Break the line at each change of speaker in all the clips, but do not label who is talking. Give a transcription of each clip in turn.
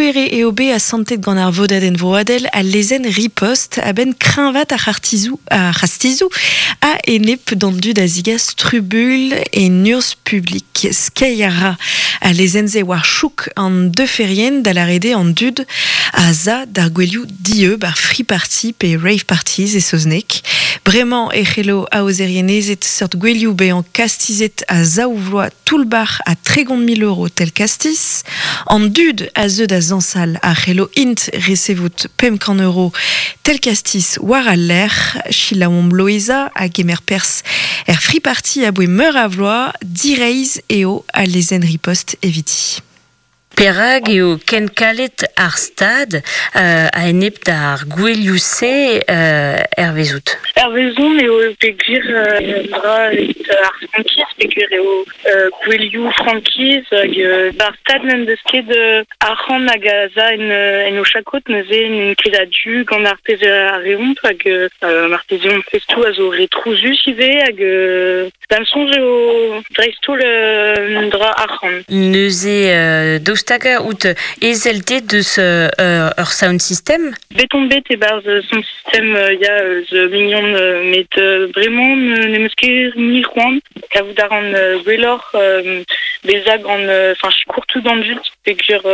Gouere eo bet asantet gant ar Vodadenn Vroadel al lezenn ripost a-benn kreñvaat ar c'hartizoù ar c'hastizoù a-enep d'an dud a zigas trubuilh en urzh publik. Skeiñ a ra al lezenn-se war chouk an deuferien, da lâret eo an dud a za d'ar gouelioù dieub, ar free party pe rave parties e saozneg. Bremañ e c'hello aozerienezed seurt gouelioù bezañ kastizet a zaou vloaz toull-bac'h ha 30 000 euro tel kastiz. An dud a zeu da zañsal a c'hello int resevout 500 euro tel kastiz war al lec'h. Selaouomp Loeiza a gemer perzh er free party aboe meur a vloaz, direizh eo al lezenn ripost eviti.
Perak eo ken kalet ar Stad a-enep d'ar gouelioù-se hervezout?
Hervezon eo peogwir dra evit ar frankiz, peogwir eo gouelioù frankiz hag ar Stad n'en deus ket arc'hant hag a za en o chakod, neuze n'int ket a-du gant ar pezh a reomp hag marteze hon festoù a zo re trouzus ivez hag da'm soñj eo dreist-holl un dra arc'hant.
Neuze daoust hag out ezel te deus ur sound system?
Bet on bet e-barzh sound system ya eus mignon met bremañ n'em eus ket mui c'hoant. Kavout a ran gwelloc'h bezañ gant enfin sikour tout an dud peogwir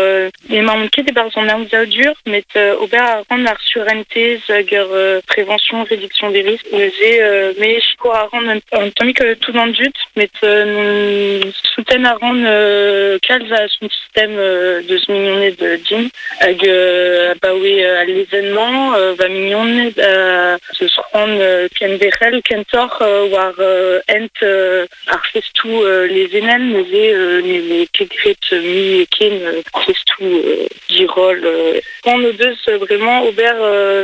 n'emaon ket e-barzh an aozadur met ober a ran ar surentez hag ur prévention réduction des risques. Neuze me sikour a ran un tammig tout an dud met souten a ran kalz a sound system deus mignoned din hag abaoe al lezenn-mañ va mignoned zeus c'hoant kenderc'hel kentoc'h war hent ar festoù lezennel neuze ne vez ket graet mui ken festoù diroll. C'hoant o deus vraiment ober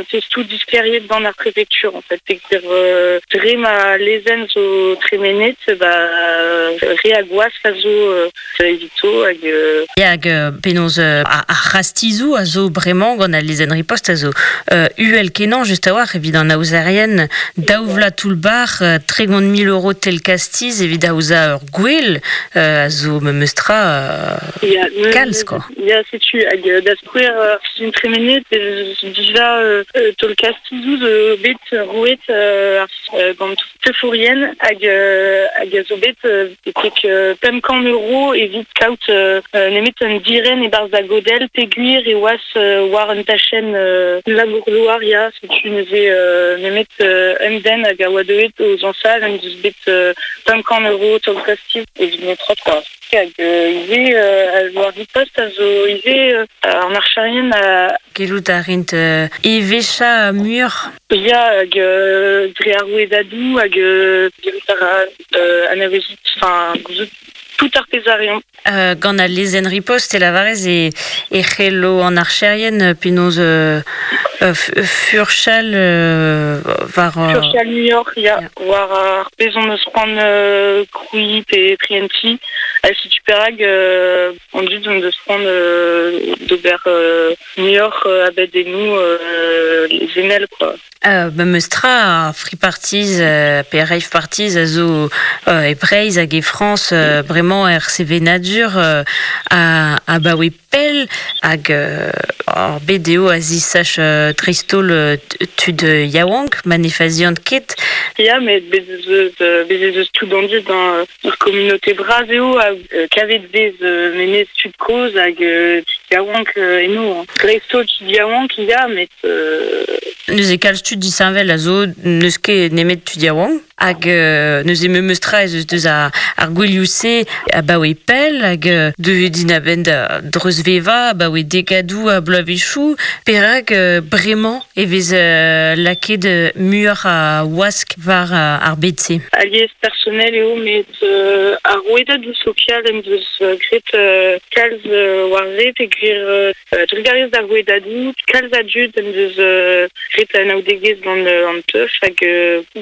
festoù disklêriet gant ar prefektur en fait peogwir dre ma lezenn zo tremenet ba re a gwask a zo evito hag
Hag penaos ar c'hastizoù a zo bremañ gant al lezenn ripost a zo uhel-kenañ just a-walc'h evit an aozerien daou vloaz toull-bac'h 30 000 euro tel kastiz evit aozañ ur gwel a zo memes tra kalz quoi.
Ya, setu hag da skouer ar sizhun tremenet ez dija taol kastizoù zo bet roet gant teufourien hag a zo bet betek 500 euro evit kaout nemet un diren e-barzh da godell peogwir e oas war un tachenn labour-douar ya setu neuze nemet un den hag a oa deuet o zañsal en deus bet 500 euro taol kastiz evit netra quoi. Hag ivez war ripost a zo ivez an archerien a
Gellout a rint eveshañ muioc'h.
Ya hag dre ar rouedadoù hag gellout a ra anavezout enfin gouzout tout ar pezh a reont.
Gant al lezenn ripost e lavarez e c'hello an archerien penaos furchal war
Furchal muioc'h ya war ar pezh hon eus c'hoant krouiñ pe prientiñ ha setu perak an dud hon deus c'hoant d'ober muioc'h abadennoù lezennel quoi.
Memes tra ar free parties pe rave parties a zo e Breizh hag e Frañs bremañ er sevenadur abaoe pell hag ar bet eo a zisach dreist-holl tud yaouank ma ne faziant ket.
Ya, met bez ez eus bez ez eus tout an dud hein. Ur communauté bras eo ha kavet vez memes tud kozh hag tud yaouank eno. Hein. Dreist-holl tud yaouank ya, met
Neuze kalz tud disheñvel a zo n'eus ket nemet tud yaouank hag neuze memes tra ez eus deus ar gouelioù-se abaoe pell hag deuet int a-benn da dreuzvevañ abaoe degadoù a bloavezhioù. Perak bremañ e vez lakaet muioc'h a wask war ar bed-se?
Alies personel eo met ar rouedadoù sokial en deus graet kalz war se peogwir Trugarez d'ar rouedadoù, kalz a dud en deus graet anaoudegezh gant an teuf hag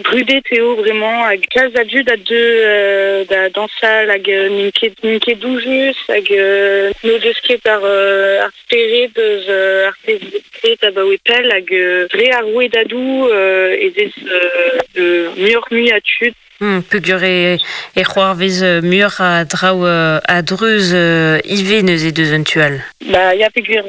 brudet eo bremañ hag kalz a dud a deu da dañsal hag n'int ket doujus hag n'o deus ket ar spered eus ar pezh graet abaoe pell hag dre ar rouedadoù ez eus muioc'h-mui a tud.
Peogwir e c'hoarvez muioc'h a draoù a-dreuz ivez neuze deus un tu all.
Ba ya peogwir